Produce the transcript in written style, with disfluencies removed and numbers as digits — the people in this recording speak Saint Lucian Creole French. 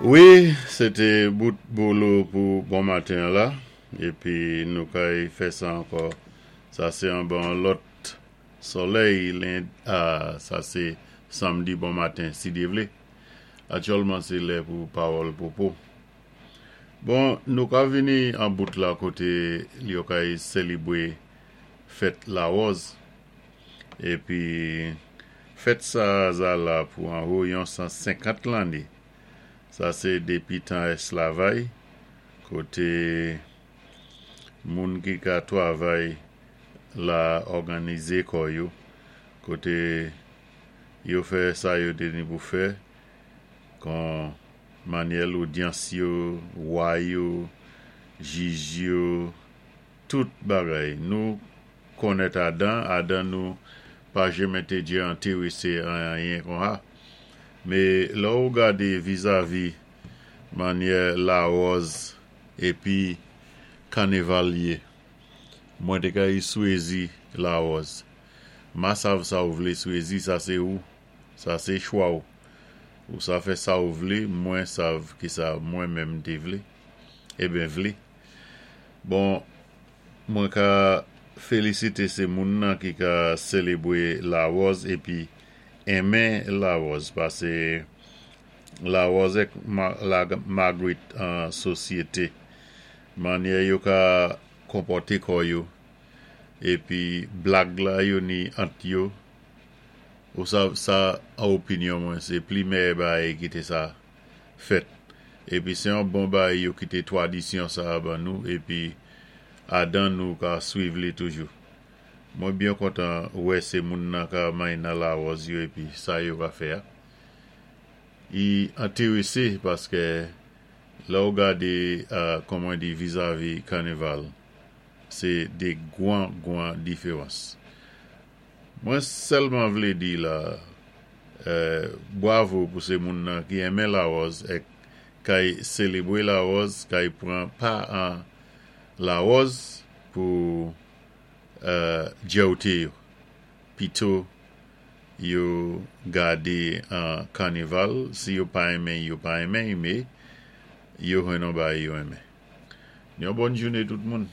Wi, sé té bout bolo pou bon maten an la, épi nou kay fè sa ankò. Sa sé anba lòt solèy len, sa sé samdi bon maten si Dye vlé. Aktyèlman sé lè pou pawòl pwopo. Bon, nou ka vini an bout la koté yo kay sélébwé fèt Lawòz. Épi fèt sa za la pou anwo yon 150 lanné. Sa sé dépi tan èsklavay koté moun ki ka twavay la òganizé kò yo, koté yo fè sa yo té ni pou fè kon manyè lodyans yo, wa yo, jij yo, tout bagay. Nou konnèt adan, adan nou pa jenmen té djé entéwésé an anyen konha. Mé lè ou gadé vizavi manyè Lawòz épi Kaneval yé, mwen té kay swézi Lawòz. Ma sav sa ou vlé swézi, sa sé ou, sa sé chwa ou. Ou sa fè sa ou vlé, mwen sav kisa mwen menm té vlé. Eben vlé. Bon, mwen ka félisité sé moun nan ki ka sélébwé Lawòz épi enmen Lawòz pasé Lawòz èk Magrit an sosyété. Manyè yo ka konpòté kò yo épi blag la yo ni ant yo, ou sav sa an opinyon mwen sé pli mèyè bagay ki té sa fèt. Épi sé yon bon bagay yo kité twadisyon sa ban nou épi adan nou ka swiv li toujou. Mwen byen kontan wè sé moun nan ka may nan Lawòz yo épi sa yo ka fè a. I entéwésé paskè lè ou gadé kon mwen di vizavi kaneval sé dé gwan gwan diféwans. Mwen sèlman vlé di la bwavo pou sé moun nan ki enmen Lawòz èk kay sélébwé Lawòz kay pran pa an Lawòz pou djèwté yo pito yo gadé an kaneval si yo pa enmen yo pa enmen mé yo jwenn on bagay yo enmen. Yon bòn jouné tout moun.